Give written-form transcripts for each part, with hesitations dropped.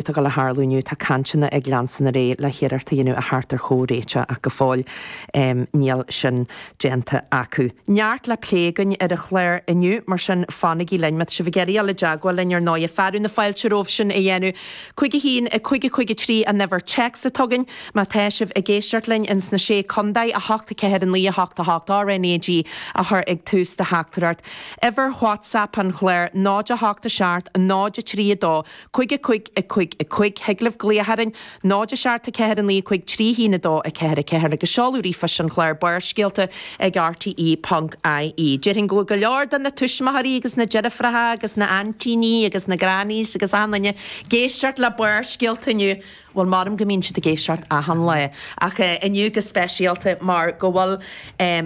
Tá ag dul a tharlú inniu, tá cainteanna ag leanstan ar aghaidh le hiarracht a dhéanamh a theacht ar chomhréiteach ach go fóill níl sin déanta acu. Neart le plé againn ar an chlár inniu, mar sin fanaigí linn. Má tá sibh ag iarraidh dul i dteagmháil linn ar ndóighe, fearadh na fáilte romhaibh sin a dhéanamh. 5 1 5 5 3 an uimhir téacs atá againn. Má tá sibh ag éisteacht linn ins na Sé Contae, 8 4 9 8 8 RNAG a chur ag tús do theachtaireacht. Uimhir WhatsApp an chláir, 0 8 7 0 3 2 5 5 5 5, Thig libh glaoch orainn, 0 7 4 9 5 3 1 2 4 4 agus seoladh ríomhphoist an chláir Barrscéalta ag rte ponc ie. Déarfainn go bhfuil go leor de na tuismitheoirí agus na deirfiúracha agus na aintíní agus na grannies agus achan duine ag éisteacht le Barrscéalta inniu. Bhuel, maram go mbíonn siad ag éisteacht achan lá, ach inniu go speisialta mar go bhfuil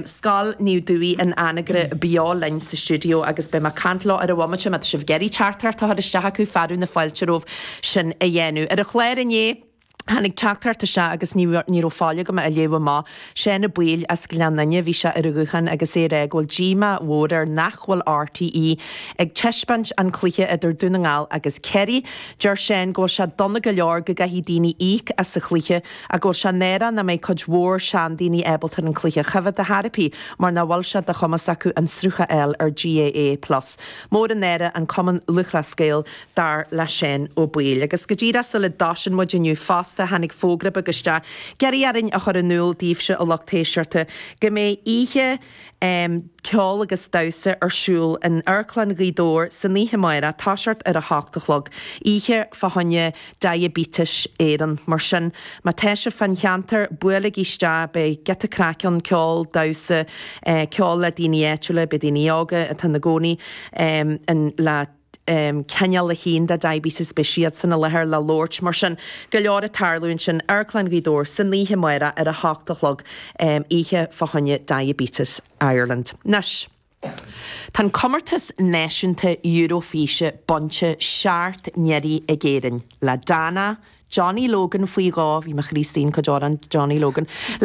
Scoil Naomh Dubhthaigh in Anagaire beo linn sa stiúideo agus beidh mé ag caint leo ar an bhomaite. Má tá sibh ag iarraidh teachtaireacht a chur isteach acu, fearadh na fáilte romhaibh sin a dhéanamh. Ar an chlár inné, tháinig teachtaireacht isteach agus ní ní raibh faill agam é a léamh amach. Seán Ó Baoill as Gleann Fhinne, bhí sé ar an ghuthán agus é ag rá go bhfuil díomá mhór air nach bhfuil RTÉ ag taispeáint an cluiche idir Dún na nGall agus Ciarraí. Deir Seán go bhfuil sé dona go leor go gcaithfidh daoine íoc as an chluiche ach go bhfuil sé náireach nach mbeidh cuid mhór seandaoine ábalta ar an cluiche a choimhéad ar chor ar bith mar nach bhfuil sé de chumas acu an sruth a fháil ar GAA Plus. Mór an náire an Cumann Lúthchleas Gael dar le Seán Ó Baoill. Agus go díreach sula dtosaíonn muid inniu fosta tháinig fógra beag isteach ag iarraidh orainn a chur in iúl daoibhse a lucht éisteachta go mbeidh oíche ceoil agus damhsa ar siúl in Amharclann Ghaoth Dobhair san oíche amárach, toiseacht ar a hocht a chlog, oíche fá choinne Diabetes Éireann. Mar sin, má tá sibh fán cheantar, buailigí isteach, beidh giota craic ann, ceol, damhsa, ceol le daoine áitiúla, beidh daoine óga atá ina gcónaí in le cineál eicínt de diabetes, beidh siadsan i láthair le labhairt. Mar sin, go leor ag tarlú ansin, Amharclann Ghaoth Dobhair san oíche amárach ar a hocht a chlog, oíche fá choinne Diabetes Ireland. Anois, tá an comórtas náisiúnta Eurofíse bainte seacht n-iarraidh ag Éirinn, le Dana, Johnny Logan faoi dhó, bhí mo chroí istigh in cuid amhrán Johnny Logan.